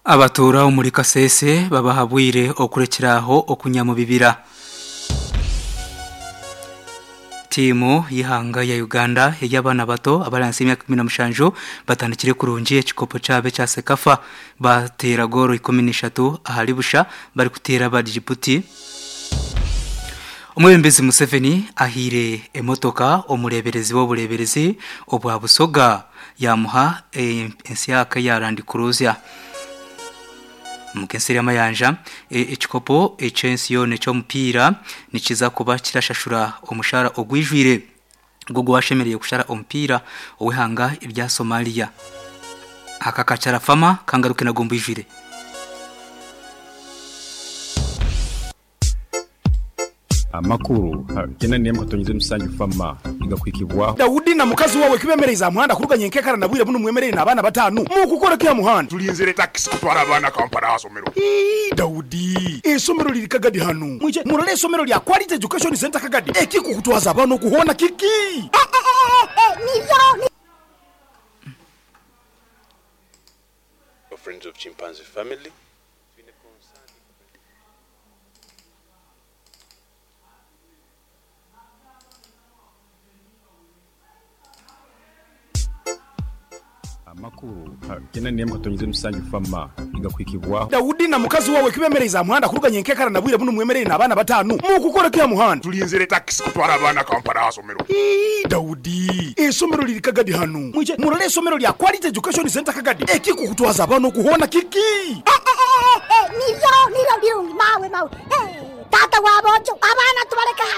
Abatuura omuri Kasese babahabwire okurekyera aho okunya mu bibira. Tiimu y'eihanga ya Uganda ey'abaana bato abari ahansi y'emyaka 17 batandikire kurungi ekikopo kyabo ekya CECAFA bateera goolo 13 ahari busha barikuteera aba Djibouti. Omwebembezi Museveni ahaire emotoka omureeberezi w'obureeberezi obwa Busoga yaamuha ensyaka eya Land Cruiser. Omuka ensi y'amayanja, ekikopo eky'ensi yoona eky'omupiira nikiza kuba kirashashura omushaara ogwijwire gw'ogwashemereire kushara omupiira ow'eihanga erya Somalia. Aka kakyarafama kangaruke nago mbwijwire. Amakuru gena n'emwe katonyize musanju fama nigakuhikibwaho. Daudi na mukazi wawe kibemereize aha muhanda kuruga nyenkekara na bwire bunu mwemereire n'abaana batanu mukukora ki aha muhanda? Tulinzire takisi kutwara abaana Kampala aha somero. Ii, Daudi, eisomero liri Kagadi hanu. Mwije murole eisomero lya Quality Education Centre Kagadi. Ekikukutwaza abaana oku hoona kiki? Friends of Chimpanzee Family. Amakuru gena n'emwe katonyize musanju fama nigakuhikibwaho. Daudi na mukazi wawe kibemereize aha muhanda kuruga nyenkekara na bwire bunu mwemereire n'abaana batanu mukukora ki aha muhanda? Tulinzire takisi kutwara abaana Kampala aha somero. Ii, Daudi, eisomero liri Kagadi hanu. Mwije murole eisomero lya Quality Education Centre Kagadi. Ekikukutwaza abaana oku hoona kiki?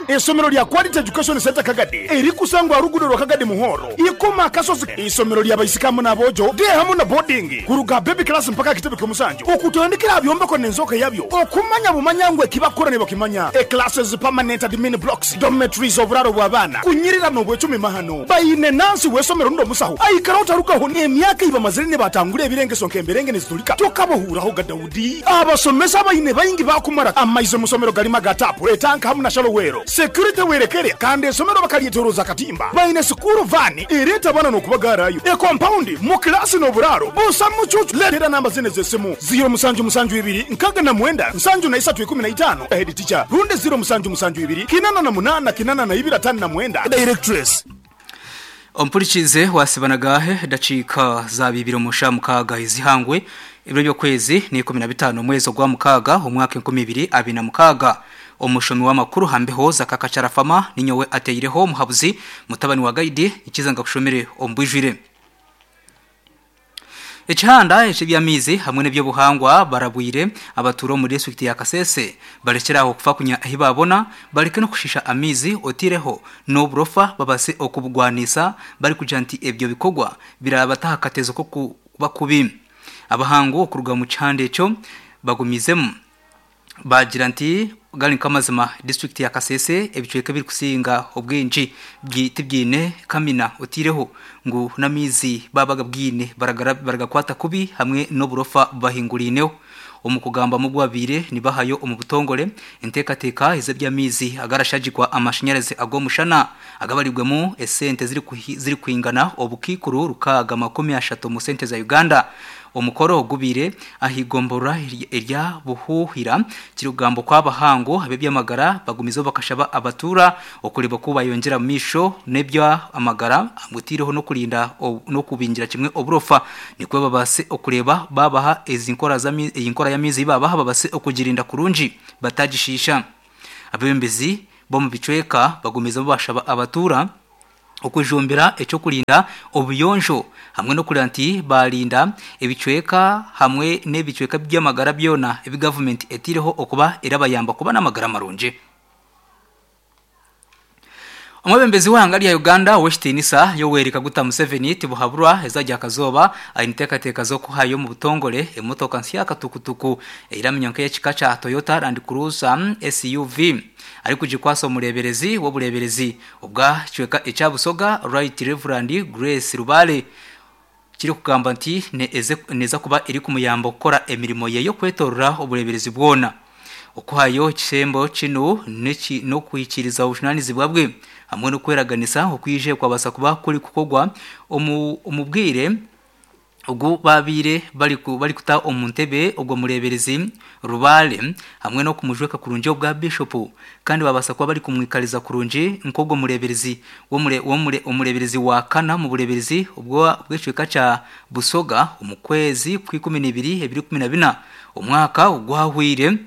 Eisomero lya Quality Education Centre Kagadi erikusangwa aha luguudo rwa Kagadi Muhoro, Ikoma Akasozi. Eisomero lya baisiki hamu n'aboojo, day hamu na boarding, kuruga aha baby class mpaka aha kitebe ky'omusanju, okutandikira aha byombeko n'enzooka yabyo, okumanya bumanya ngu eki bakukora nibakimanya. E Classes, permanent admin blocks, dormitories, oburaaro bw'abaana, kunyirira n'obwecumi mahano. Baine nansi w'eisomero rundi omusaho aikara otarugaho n'emyaka ei bamazire nibatangura ebirengeso nk'emberenge niziturika tokabahuuraho ga Daudi. Abasomesa abaine baingi baakumara amaizi omu somero garimu aga taapu, etanka hamu na shallow well. Security werekere kandi eisomero bakaryetoroza akatimba. Baine sikuuru vaani ereeta abaana n'okubagaarayo. Ekompaundi mu kilaasi n'oburaaro busa mucuucu. Leetera namba zinu ez'esimu, ziiro musanju musanju ibiri nkaga na mwenda nsanju na isatu ikumi na itaano, Head teacher, rundi ziiro musanju musanju ibiri kinana na munana kinana na ibiri atano na mwenda, Directress. Ompurikiize waasiba nagaahe edakiika za bibiri omu shaaha mukaaga ez'eihangwe, ebiro by'okwezi n'eikumi na bitaano omwezi ogwa mukaaga omwaka 2026. Omushomi w'amakuru aha mbeho za Kakakyarafama ninyowe ateireho omuhabuzi mutabani wa Gaidi nikiza nkakushomere omu bwijwire. Ekihanda eky'eby'amaizi hamwe n'eby'obuhangwa barabwire abatuura omu disiturikiti ya Kasese barekyere aho kufa kunya ahi baabona bareke n'okushiisha amaizi oteireho n'oburofa babaase okubugwaniisa barikugira nti ebyo bikorwa birabata aha katezo k'okuba kubi. Abahangu okuruga omu kihanda ekyo bagumiizemu. Baagira nti, Gari nk'amazima, disiturikiti ya Kasese ebicweka ebirikusinga obwingi tibyine kamina oteireho ngu n'amaizi baaba bagabwine baragakwata kubi hamwe n'oburofa bubahinguriineho. Omu kugambamu obu babaire nibahayo omu butongore enteekateeka ez'eby'amaizi agarashagikwa amashanyarazi ag'omushana agabarirwemu esente zirikwingana obukaikuru 630 omu sente za Uganda Omukoro gubaire ah'eigomborora erya Buhuhira kirikugambwa ku abahangu ab'eby'amagara bagumizeho bakashaba abatuura okureeba oku bayongyera omu maisho n'eby'amagara oteireho n'okurinda n'okubingira kimwe oburofa nikwo babaase okureeba babaha ezi nkora eyi nkora y'amaizi ei babaha babaase okugirinda kurungi batagishiisha. Abeebembezi b'omu bicweka bagumizeho bashaba abatuura okujumbira eky'okurinda obuyonjo hamwe n'okureeba nti baarinda ebicweka hamwe n'ebicweka by'amagara byona ebi gavumenti eteireho okuba erabayamba kuba n'amagara marungi. Omwebembezi w'eihanga rya Uganda ow'ekitiinisa Yoweri Kaguta Museveni Tibuhaburwa eizooba rya Kazooba aine enteekateeka z'okuhayo omu butongore emotoka nsya katukutuku eiraminywa nk'ey'ekika kya Toyota Land Cruiser SUV arikugikwasa omureeberezi w'obureeberezi Obwa kicweka ekya Busoga, Right Rev. Grace Lubaale kirikugamba nti neeza kuba erikumuyamba kukora emirimo ye y'okwetorora obureeberezi bwona. Okuhayo ekisembo kinu n'okuhikiiriza obujunaanizibwa bwe hamwe n'okweraganisa okwije kwabaasa kuba kurikukorwa omu bwire. Ogu baabaire barikuta omu ntebe ogwo mureeberezi Rubaale hamwe n'okumujweka kurungi obwa Bishopu kandi babaasa kuba barikumwikariza kurungi nk'ogwo mureeberezi omureeberezi wa kana omu bureeberezi bw'ekicweka kya Busoga omu kwezi kw'Ikuminiibiri ebiri 14 omwaka ogwahweire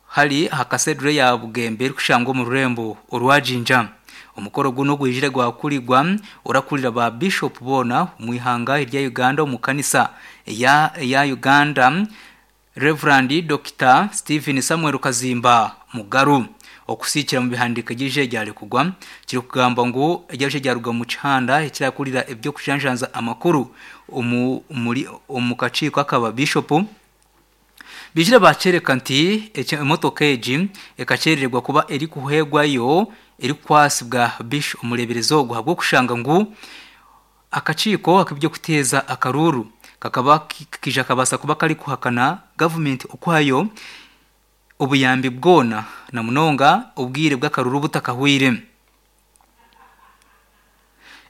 hari aha Cathedral ya Bugembe erikushangwa omu rurembo orwa Jinja. Omukoro gunu gwijire gwakurirwa orakurira ba Bishop boona omu ihanga erya Uganda omu kanisa eya eya Uganda Rev. Dokita Stephen Samuel Kazimba Mugaru. Okusiikira omu bihandiiko ery'eije ryarekugwa kirikugamba ngu ery'eije ryaruga omu kihanda ekirakurira eby'okujanjanza amakuru omu muri omu kakiiko akaba Bishopu Baijire baakyereka nti emotoka egi ekakyerererwa kuba erikuheebwayo erikukwatsibwa Bish omureeberezi ogu ahabw'okushanga ngu akakiiko ak'eby'okuteeza akaruuru kakaba kaija kabaasa kuba karikuhakana gavumenti okuhayo obuyambi bwona na munonga obwire bw'akaruuru butakahweire.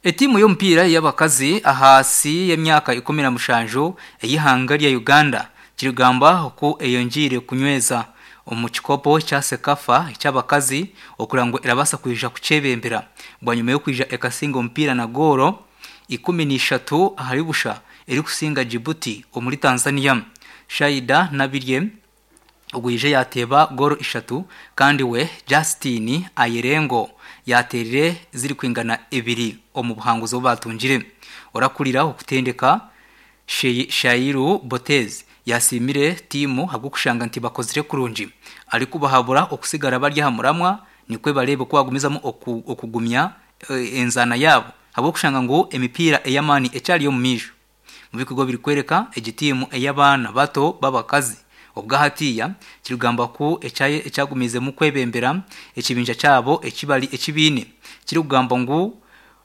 Etiimu y'omupiira ey'abakazi ahaasi y'emyaka 17 ey'eihanga rya Uganda kirigamba oku eyongyeire kunyweza omu kikopo kya CECAFA eky'abakazi okureba ngu erabaasa kwija kukyebembera bwanyima y'okwija ekasinga omupiira na goolo 13 ahari busha erikusinga Djibouti omuri Tanzania. Shaida Nabirye Ogwije yaateeba goolo ishatu kandi we Justine Ayerengo yaateerire zirikwingana ibiri omu buhanguzi obu baatungire. Orakurira okutendeka, Shairu Botez yaasiimire tiimu ahabw'okushanga nti bakozire kurungi arikubahabura okusigara bari aha muramwa nikwo bareebe oku baagumizamu okugumya enzaana yaabo ahabw'okushanga ngu emipiira ey'amaani ekyari omu maisho. Mubikorwa birikworeka egi tiimu ey'abaana bato b'abakazi obwahatiya kirikugambwa ku ekyagumiizemu kwebembera ekibinja kyabo ekibari ekibaine kirikugambwa ngu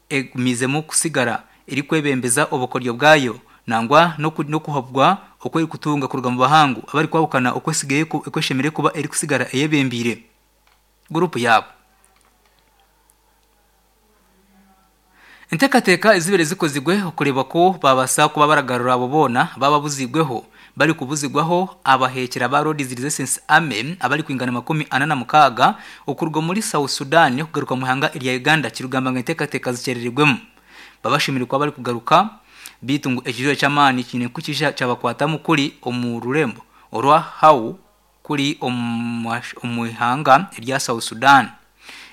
egumiizemu kusigara erikwebembeza obukoryo bwayo nangwa n'okuhabwa oku erikutunga kuruga mubahangu abarikwahukana oku eshemereire kuba erikusigara eyebembeire guruupu yaabo. Enteekateeka ezibaire zikozirwe okureeba ku baabaasa kuba baragarura abo boona abababuziibweho barikubuzibwaho abaheekyera ba Lord's Resistance Army abarikwingana 46 okuruga omuri South Sudan okugaruka omu ihanga erya Uganda kirikugamba ngu enteekateeka zikyererigwemu babashemereire kuba barikugaruka beitu ngu ekijura ky'amaani kiine kukija kyabakwatamu kuri omu rurembo orwa Hau kuri omu ihanga erya South Sudan.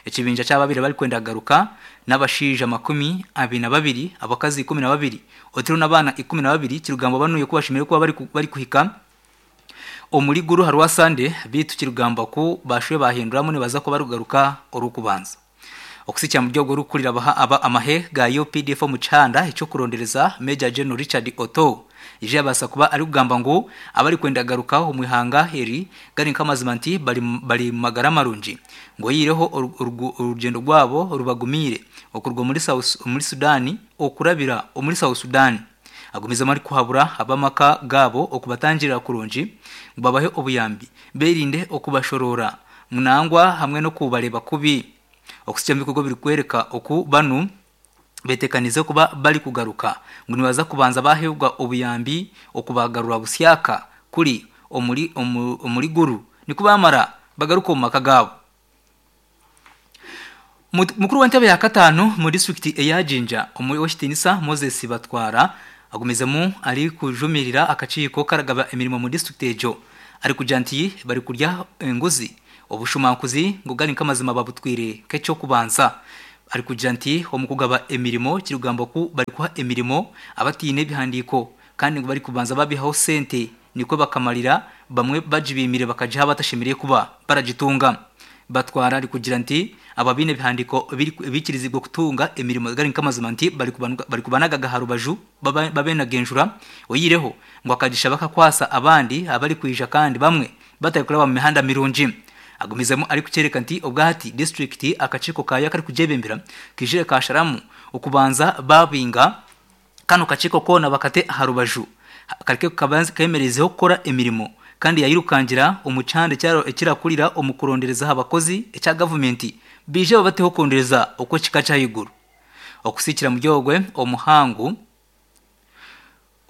Ekibinja ky'ababaire barikwenda kugaruka n'abashaija 22, abakazi 12 otaireho n'abaana 12 kirugambwa banuya ku bashemereire kuba barikuhika omuri Gulu aha Rwasande beitu kirugambwa ku bashube bahinduramu nibaza kuba barikugaruka Orw'okubanza. Okusikira omuri ogwo orikukurira aba amahe ga UPDF omu kihanda eky'okurondereza Major General Richard Otoo Ija yabaasa kuba arikugamba ngu abarikwenda kugaruka omu ihanga eri gari nk'amazima nti bari bari mumagara marungi ngu oyihireho orugyendo rwabo rubagumiire okuruga omuri omuri Sudan okurabira omuri South Sudan. Agumizemu arikuhabura ab'amaka gaabo okubatangirira kurungi ngu babahe obuyambi berinde okubashoroora nangwa hamwe n'okubareeba kubi. Okuhitsya omu bikorwa birikworeka oku banu betekanize kuba barikugaruka ngu nibaza kubanza baheebwa obuyambi okubagarura busyaka kuri omuri omuri Gulu nikwo bamara bagaruke omu maka gaabo. Mukuru w'entebe ya kataano omu disiturikiti eya Jinja Ow'ekitiinisa Moses Batwara agumizemu arikujumirira akakiiko karagaba emirimo omu disiturikiti egyo arikugira nti barikurya enguzi Obushumankuzi ngu gari nk'amazima babutwire nk'eky'okubanza. Arikugira nti omu kugaba emirimo kirikugambwa ku barikuha emirimo abataine ebihandiiko kandi ngu barikubanza babihaho sente nikwo bakamarira bamwe bagibiimire bakagiha abatashemereire kuba baragitunga. Batwara arikugira nti abo abaine ebihandiiko ebiikiriziibwe kutunga emirimo gari nk'amazima nti barikubanagaga aha rubaju babenaga enjura oyihireho ngu akagisha bakakwasa abandi abarikwija kandi bamwe batarikuraba mu mihanda mirungi. Agumizemu arikukyoreka nti obwahati disiturikiti akakiiko kaayo akarikugyebembera kaijire kaasharamu okubanza baabinga kanu kakiiko koona bakate aha rubaju kareke kemerezeho kukora emirimo kandi yairukangira omu kihanda ekirakurira omu kurondereza aha bakozi ekya gavumenti baije babateho okurondereza okw'ekika ky'ahaiguru. Okusiikira muri ogwe omuhangu.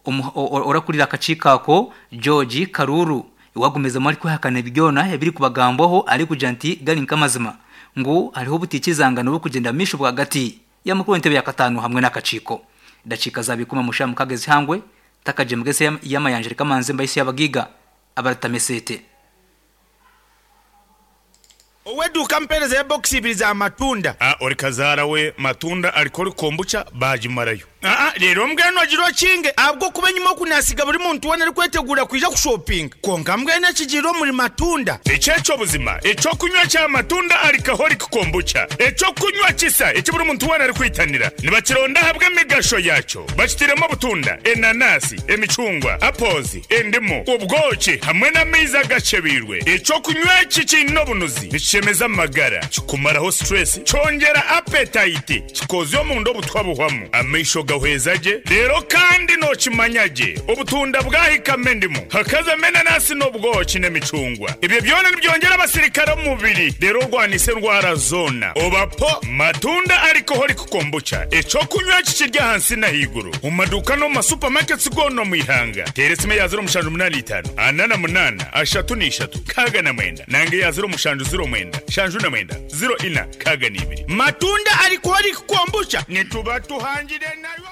Orakurira akakiiko ako, George Karuru wagumizemu arikwehakana ebi byona ebirikubagambwaho arikugira nti gari nk'amazima ngu hariho obutaikirizangana oburikugyenda mumaisho bwagati ya mukuru w'entebe ya kataano hamwe n'akakiiko. Edakiika zaaba 16 ezihangwe takagyemugese y'amayanja reka manze mbaise y'abagaiga abaratama eseete. Ow'eduuka ampeereza ya bokisi ibiri za matunda. A Ori kazaara we matunda ariko ori kombucha baagimarayo. Aa Reero mbwenu ogire okinge ahabw'okuba enyima oku naasiga buri muntu weena arikweteguura kwija kushopinga. Kwonka mbwenu ekigiire omuri matunda. Eki eky'obuzima eky'okunywa kya matunda alcoholic kombucha, eky'okunywa kisa eki buri muntu weena arikwitanira. Nibakironda ahabw'emigasho yaakyo. Bakitairemu obutunda, enanasi, emicungwa, apples, endimu, obwoki hamwe n'amaizi agakyebeirwe. Eky'okunywa eki kiine obunuzi, nikishemeza amagara, kikumaraho stress, kyongyera appetite, kikoozya omunda obutwa buhwamu, amaisho gahweza gye, reero kandi nookimanya gye obutunda bwahikamu endimu, hakazamu enanasi n'obwoki n'emicungwa. Ebyo byona nibyongyera abasirikare omu mubiri reero orwanise endwara zoona. Oba po Matunda Alcoholic Kombucha, eky'okunywa eki kiri ahansi n'ahaiguru omu maduuka n'omu ma supermarkets goona omu ihanga. Teera esimu eya 0785 48 33 69 nanga eya 0709 79 04 62. Matunda Alcoholic Kombucha nituba tuhangire nayo.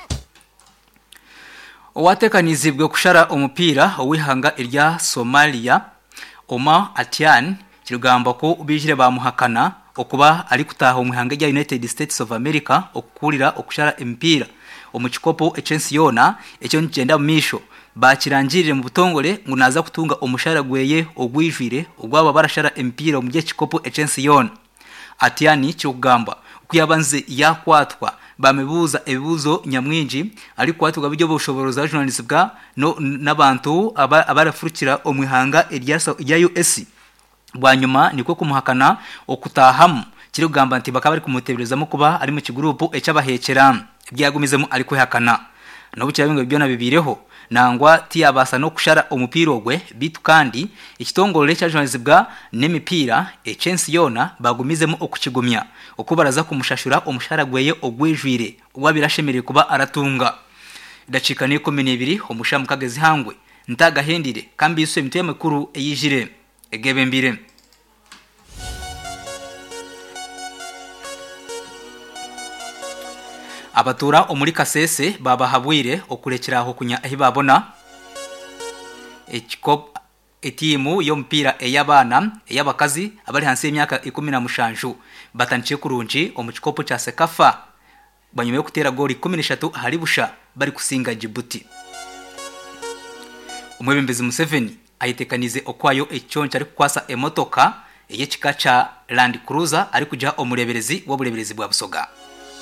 Owateekaniziibwe kushara omupiira ow'eihanga erya Somalia, Omar Atian kirikugambwa ku baijire baamuhakana okuba arikutaaha omu ihanga erya United States of America okukurira okushara emipiira omu kikopo eky'ensi yoona ekiriyo nikigyenda omu maisho baakirangirire omu butongore ngu naaza kutunga omushara gweye ogwijwire ogwabo abarashara emipiira omuri eki kikopo eky'ensi yoona. Atiani kirikugambwa ku yabanze yakwatwa bamubuuza ebibuuzo nyamwingi arikukwatirwa by'obushoboorozi ajunaanizibwa n'abantu abarafurukira omu ihanga erya US bwanyima nikwo kumuhakana okutaahamu kirikugamba nti bakaba barikumuteeberezamu kuba ari mu kiguruupu eky'abaheekyera ebi yagumizemu arikwehakana. N'obu kiraabe ngu ebi byona bibaireho, nangwa tiyabaasa n'okushara omupiira ogwe beitu kandi ekitongore ekyajunanizibwa n'emipiira eky'ensi yoona baagumizemu okukigumya oku baraza kumushashura omushaara gweye ogwijwire ogu abaire ashemereire kuba aratunga. Edakiika n'eikumi n'ibiri omu shaaha mukaaga ez'eihangwe ntaagahendire ka mbaitswe emitwe y'amakuru eyaijire egeebembeire. Abatuura omuri Kasese babahabwire okurekyera aho kunya ahi baabona Etiimu y'omupiira ey'abaana ey'abakazi abari ahansi y'emyaka 17 batandikire kurungi omu kikopo kya CECAFA bwanyima y'okuteera goolo 13 ahari busha barikusinga Djibouti. Omwebembezi Museveni ayeteekaniize okuhayo ekiconco arikukwasa emotoka ey'ekika kya Land Cruiser arikugiha omureeberezi w'obureeberezi bwa Busoga.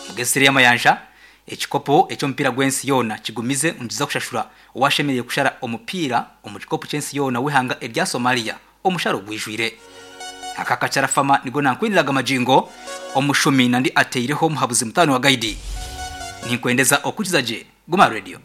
Mugesere y'amayanja, ekikopo eky'omupiira gw'ensi yoona kigumize ngu nikiza kushashura owashemereire kushara omupiira omu kikopo ky'ensi yoona w'eihanga erya Somalia omusharo ogwijwire. Aka kacarafama nigo nankwiniraga magingo, omushumi nandi ateireho omuhabuzi mutaano wa gaidi. Ninkwendeza okukiza gye. Guma Radio.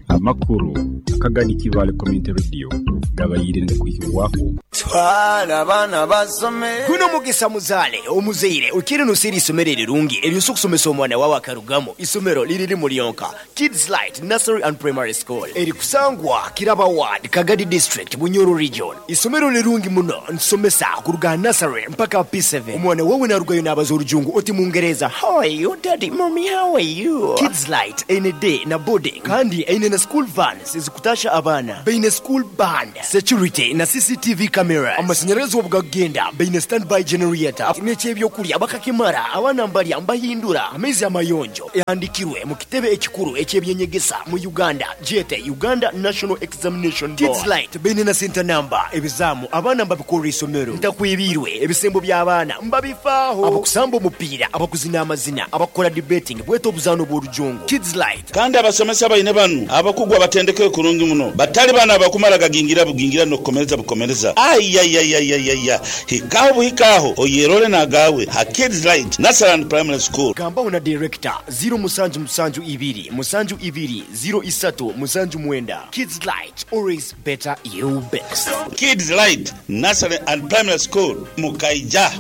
Amakuru akagani Kibaale Community Radio gabaire nigakwihibwaho. Twala abaana basome. Guno mugisa muzaale omuzaire okiire noseera isomero erirungi eryosa okusomesa omwana wawe akarugamu. Isomero liri limu lyonka, Kids Light Nursery and Primary School erikusangwa Kiraba Ward, Kagadi District, Bunyoro Region. Isomero lirungi muno nitusomesa kuruga aha nursery mpaka aha P7. Omwana wawe narugayo nabaza orujungu oti mungereza How are you daddy, mummy how are you? Kids Light eine day na boarding kandi eine na school vans ezikutasha abaana. Baine school band, security na CCTV cameras. Amashanyarazi obu gakugenda baine standby generator. N'eky'ebyokurya bakakimara abaana mbarya mbahindura amaizi amayonjo. Ehandikirwe mu kitebe ekikuru eky'ebyenyegesa mu Uganda gyete Uganda National Examination Board. Kids Light baine na senta namba, ebizaamu abaana mbabikorera eisomero. Ntakwebiirwe, ebisembo by'abaana mbabifaaho. Abakusamba omupiira, abakuzina amazina, abakukora debating bwete obuzaano bw'orujungu. Kids Light. Kandi abasomesa baine banu abakugu abatendekeirwe kurungi muno, batali banu abakumara gagingira bugingira n'okukomereza bukomereza. Aiaiaiaiaia! Hikaho buhika aho oyerole n'agaawe ha Kids Light Nursery and Primary School. Gambaho na Director, ziro musanju musanju ibiri musanju ibiri ziro isatu musanju mwenda. Kids Light, always better you best. Kids Light Nursery and Primary School, Mukaija.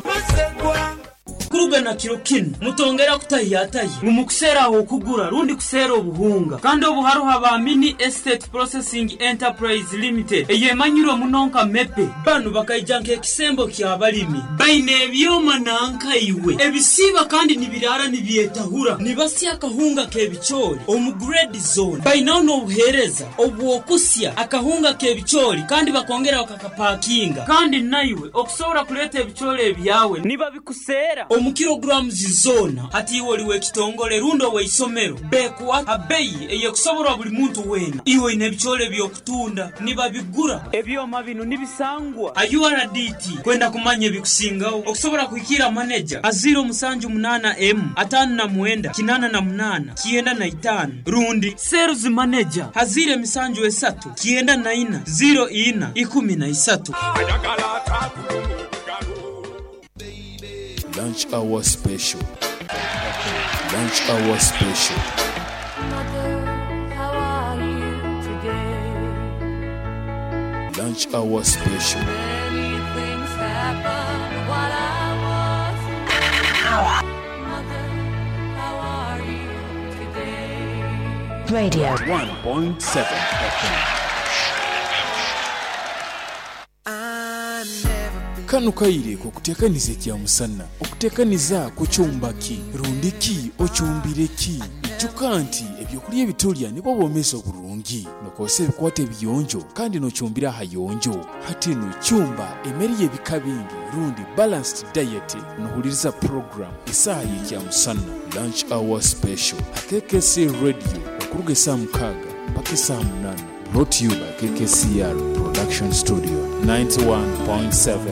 Okuruga na kiro kinu mutongera kutahiyatahi ngu mukuseera aho okugura rundi kuseera obuhunga. Kandi obu haroho aba Mini Estate Processing Enterprise Limited eyemanyirwe muno nka MEPE. Banu bakaija nk'ekisembo ky'abalimi. Baine ebyoma nanka iwe ebisiiba kandi nibiraara nibyetahura. Nibasya akahunga k'ebicoori omu grade zoona. Bainaho n'obuheereza obw'okusya akahunga k'ebicoori kandi bakongera bakakapakinga. Kandi naiwe okusobora kuleeta ebicoori ebyawe nibabikuseera omu kilograms zoona. Hati iwe oli w'ekitongole rundi ow'eisomero, bekuha ha beyi ey'ekusoborwa buli muntu weena. Iwe oine ebicoori eby'okutunda, nibabigura. Ebyoma binu nibisangwa ha URDT. Kwenda kumanya ebikusingaho, okusobora kuhikiira maneja ha 078 emu 59 88 95 rundi Sales Manager ha 073 94 04 13. Lunch hour special Lunch hour special. Lunch hour special. Radio. 1.7 FM. Kanu kaire k'okuteekaniza ekyamusana. Okuteekaniza kucumba ki? Rundi ki ocumbire ki? Ijuka nti ebyokulya ebitulya nibwo bwomeezi oburungi. Nokozesa ebikwato ebiyonjo kandi nocumbira ahayonjo. Hati nu cumba emere y'ebika bingi rundi balanced diet nohuliriza program Esaaha y'Ekyamusana, Lunch Hour Special, ha KKC Radio okuruga esaaha mukaaga mpaka esaaha munaana. Brought to you by KKCR Production Studio 91.7.